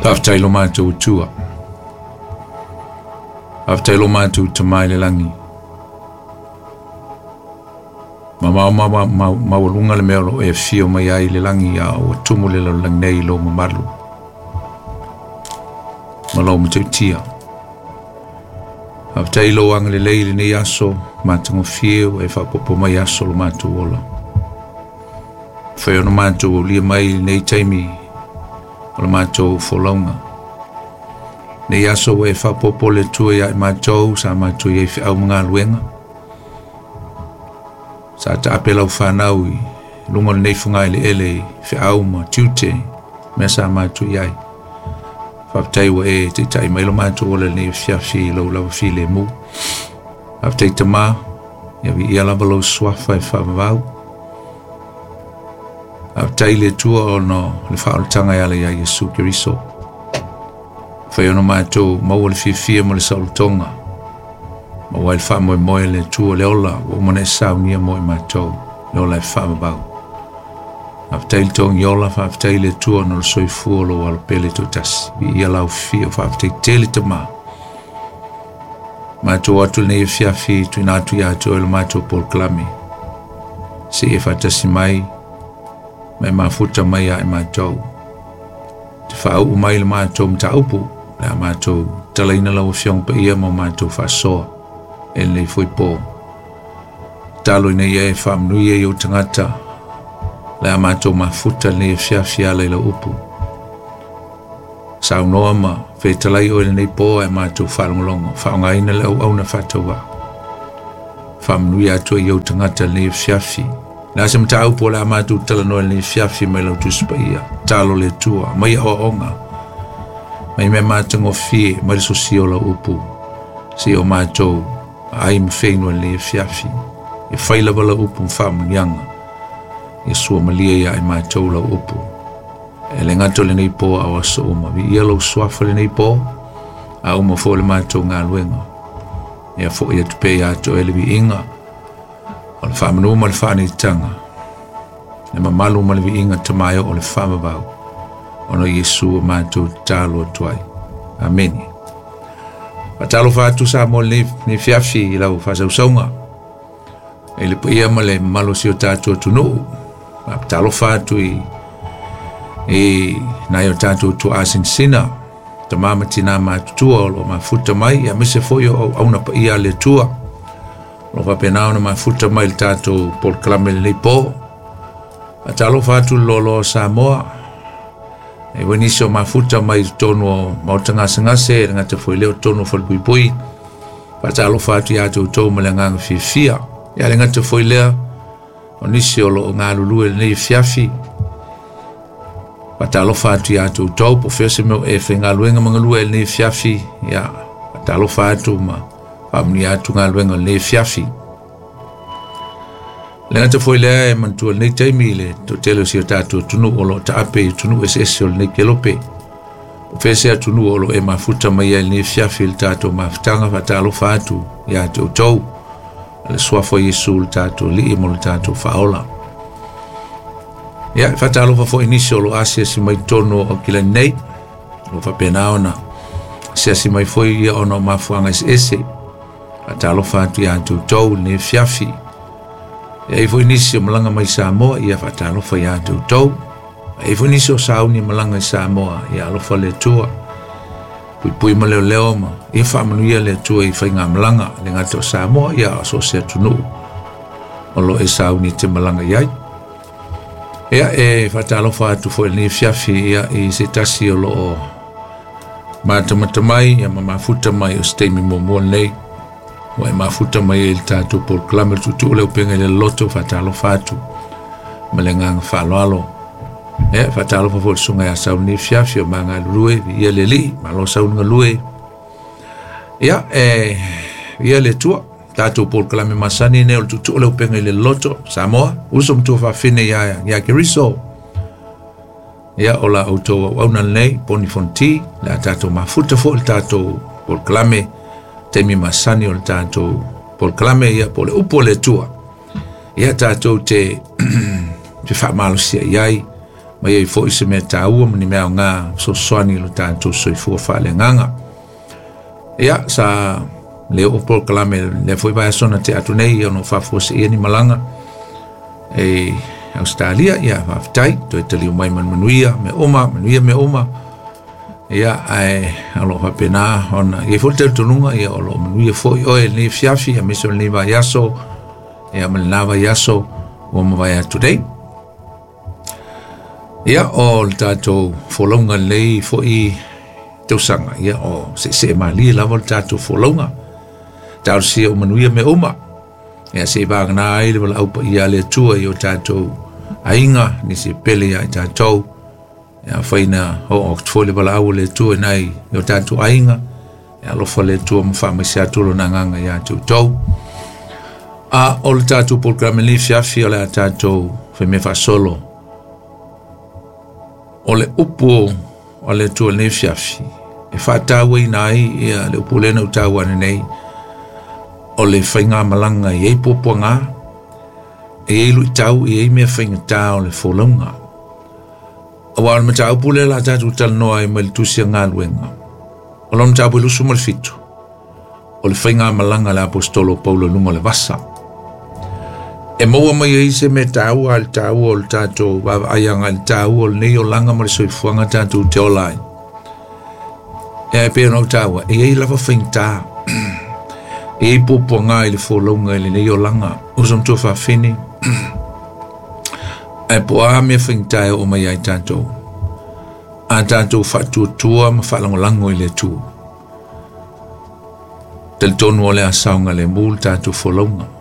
Faafetai lo matou Atua. Faafetai lo matou Tama i le lagi. Mamao maualuga le mea o lo o e afio mai ai i le lagi a ua tumu le lalolagi nei i lou mamalu ma lou matautia. Faafetai i lou agalelei i lenei aso matagofie ua e faaopoopo mai aso o lo matou ola. Fai ona matou aulia mai i lenei taimi o le matou folauga. Nei aso ua e faaopoopo le Atua ia i matou sa matou i ai feau ma galuega. Sa taape lau fanau i luga o lenei fogaeleele i feau ma tiute mea sa matou i ai. Faafetai ua e taitai mai lo matou ola i lenei afiafi i lou lava filemu. Faafetai Tama, ia viia lava lou suafa e faavavau. Faafetai i le Atua ona o le faaolataga e ala ia Iesu Keriso. Fai ona matou maua le fiafia ma le saolotoga, maua ai le faamoemoe le Atua le ola ua uma ona e saunia mo i matou, le ola e faavavau. Faafetai le togi ola, faafetai le Atua ona o le soifua o lou alopele toatasi. Viia lau fia, faafetai tele Tama. Matou atu lenei afiafi tuuina atu ia te oe le matou polokalame. Se i e faatasi mai ma e mafuta mai ia i matou. Te faauu mai le matou mataupu, le a matou talaina lau Afioga Paia ma matou faasoa e lenei foi po. Talo ina ia e faamanuia i ou tagata, le a matou mafuta lenei afiafi ala i lau upu. Saunoa ma fetalai oe lenei po ae matou faalogologo, faaaogaina le auauna faatauvaa. Faamanuia atu ai i ou tagata lenei afiafi. Le a se mataupu o le a matou talanoa i lenei afiafi mai lau Tusi Paia. Talo le Atua, mai aoaoga, mai mea matagofie, mai le sosia o lau upu, se o matou ai ma feinu i lenei afiafi. E fai lava lau upu ma faamanuiaga, ia sua malie ia i matou lau upu. E le gata o lenei po a o aso uma. Viia lou suafa lenei po, a uma foi le matou galuega. Ia foi atu pea ia te oe le viiga, o le faamanu ma le faaneetaga, le mamalu ma le viiga tamaeo o le faavavau, ona Iesu o matou tatalo atu ai. Amene. Faatalofa atu Samoa lenei fiafi i lau faasausauga, i le paia ma le mamalu o si o tatou atunuu. Faatalofa atu i nai o tatou tuaasinasina, tama ma tina matutua o lo mafuta mai, aemaise foi o auauna paia a le Atua o lo faapena ona mafuta mai le tatou polokalame lenei po. Faatalofa atu le loaloa o Samoa, e foi nisi o mafuta mai i totonu o maota gasegase, le gata foi lea o totonu o falepuipui. Faatalofa atu ia te outou ma le agaga fiafia. Ia le gata foi lea o nisi o lo o galulue lenei afiafi. Faatalofa atu ia te outou, po o fea se mea o e faigaluega ma galue ai lenei afiafi. Ia, faatalofa atu ma faamanuia atu galuega o lenei afiafi. Le gata foi lea e manatua lenei taimi le toatele o si o tatou atunuu o lo o taape i atunuu eseese o lenei kelope. O fea se atunuu o lo o e mafuta mai ai lenei afiafi i le tatou mafutaga, faatalofa atu ia te outou. Le suafa o Iesu le tatou Alii ma le tatou Faaola. Ia, faatalofa foi nisi o lo o asiasi mai totonu o Aukilani nei. O faapena ona asiasi mai foi ia ona o mafuaaga eseese. Faatalofa atu ia te outou lenei afiafi. E ai foi nisi o malaga mai Samoa, ia faatalofa ia te outou. E ai foi nisi o sauni malaga i Samoa, ia alofa le Atua. Puipui ma leoleo ma ia faamanuia le Atua i faigamalaga le gata o Samoa, ia o so o se atunuu o lo e sauni te malaga i ai. Ia, e faatalofa atu foi lenei afiafi ia i se tasi o lo o matamata mai ia ma mafuta mai o se taimi muamua lenei ua e mafuta mai ai i le tatou polokalame le tuutuu le upega i le loloto. Faatalofa atu ma le agaga faaaloalo. Ia, faatalofa foi le susuga ia Sauli lenei afiafi o magalulue, viia le Alii, malo Sauli galue. Ia, e viia le Atua. Tatou polokalame masani nei o le tuutuu le upega i le loloto Samoa, uso ma tuafafine ia Keriso. Ia, o la outou auauna lenei, Poni Fonti, le a tatou mafuta foi le tatou polokalame, taimi masani o le tatou polokalame, ia po o le upu o le Atua. Ia tatou te faamalosia i ai mai ai foi se mea taua ma ni mea aoga fesoasoani i lo tatou soifua faaleagaga. Ia, sa le oo polokalame lea foi vaiaso na tea atu nei ona o faafuaseia ni malaga e Australia. Ia, faafetai, toe taliu mai ma le manuia mea uma, manuia mea uma. Ia, ae o lo o faapena ona i ai foi le talitonuga, ia o lo o manuia foi oe i lenei afiafi aemaise o lenei vaiaso, ia ma lena vaiaso ua mavae atu nei. Ia, o le tatou folauga lenei foi tausaga, ia o seesee malie lava le tatou folauga. Talosia o manuia mea uma. Ia se i vagana ai le valaau paia a le Atua i o tatou aiga, nisi e pele ia i tatou. Ia afai na oo atu foi le valaau a le Atua i nai o tatou aiga, ia alofa le Atua ma faamaise atu lona agaga ia te outou. A o le tatou polokalame lenei afiafi o le a tatou faimea faasolo. O le upu a le Atua lenei afiafi e faatauaina ai ia le upu lea na ou taua ananei, o le faigamalaga e i ai puapuaga, e i ai luitau, e i ai mea faigata o le folauga. Aua o le mataupu lea o le a tatou talanoa ai mai le Tusi a Galuega, o lona mataupu e 27, o le faigamalaga a le Aposetolo o Paulo i luga o le vasa. E maua mai ai se mea taua i le taua o le tatou vaavaai agai i le taua o lenei olaga ma le soifuaga tatou te ola ai. E pei ona ou taua, e i ai lava faigata, e i ai puapuaga i le folauga i lenei olaga. Uso matua faafine, ae po o a mea faigata e oo mai ai tatou, a tatou faatuatua ma faalagolago i le Atua, talitonu o le a saogalemu le tatou folauga.